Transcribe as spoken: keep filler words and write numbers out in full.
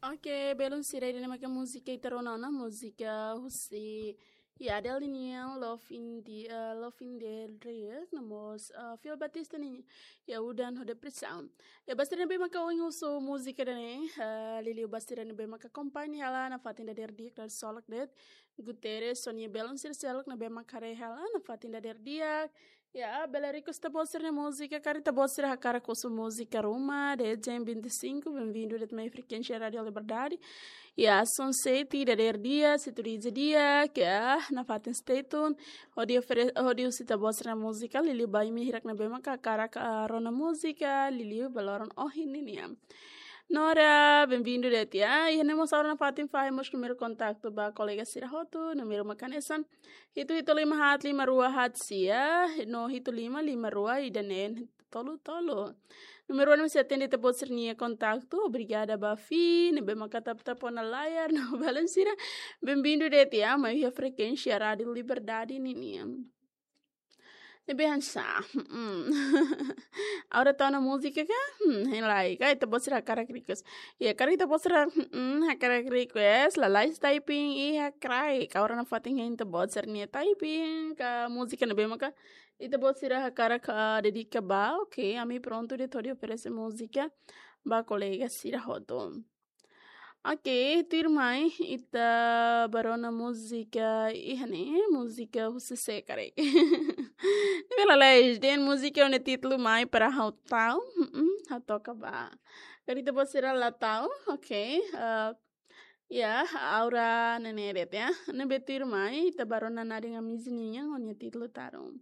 Oke, belun sira, ida-ne'e maka múzika ita rona ona, múzika husi, ya, Adele nian, Love in the, eh, Love in the Air, no mós, eh, Phil Baptiste nian, Ya Udan ho Depresaun. Ya, ba sira ne'ebé maka ohin husu múzika ida-ne'e, eh, liuliu ba sira ne'ebé maka akompaña hela nafatin dadeer di'ak, dadeer solok de'it, Guterres, Sonia, belun sira seluk ne'ebé maka haree hela nafatin dadeer di'ak. Ya, bele request ita-boot sira-nia múzika, karik ita-boot sira hakarak husu múzika ruma, de'it jam vinte e cinco, bem-vindo de'it mai frekuénsia Rádiu Liberdade. Ya, sunset, dadeer di'ak, situ di dia, ya, nafatin stay tune. Hodi ofere-, hodi husu ita-boot sira-nia múzika, liuliu ba imi hirak ne'ebé maka hakarak, ah, rona múzika, liuliu ba loron ohin ninian. Nora, bem-vindo de'it, ya. Iha ne'e mós ha'u rona nafatin fahe mós númeru kontaktu ba kolega sira hotu, númeru mak hanesan hitu hitu lima haat lima rua haat sia, no hitu lima lima rua ida neen tolu tolu. Númeru ne'e sei atende ita-boot sira-nia kontaktu, obrigada ba Fi, ne'ebé maka tap-tap ona layar, no belun sira, bem-vindo de'it, ya, mai iha frekuénsia Rádiu Liberdade ninian. Ne'ebé hanesan, hmm. Agora tau ona múzika ka? Hmm, hein lai, ka ita-boot sira hakarak request. Ya, karik ita-boot sira, hmm, hakarak request, lalais typing, iha kraik. Agora nafatin hein ita-boot sira-nia typing, ka múzika ne'ebé maka ita-boot sira hakarak, ah, dedika ba, oke, ami prontu de'it hodi oferese múzika ba kolega sira hotu. Oke, tuirmai, ita bá rona múzika iha ne'e, múzika husi sé karik. Ne'ebé lalais, dehan múzika ho nia títulu Mai para Ha'u Ta'uk, hmm, ha'u toka ba. Karik ita-boot sira la ta'uk, oke, eh, ya, Aura Nene de'it, ya. Ne'ebé tuirmai, ita bá rona Nadin Amizi nian ho nia títulu Tarun.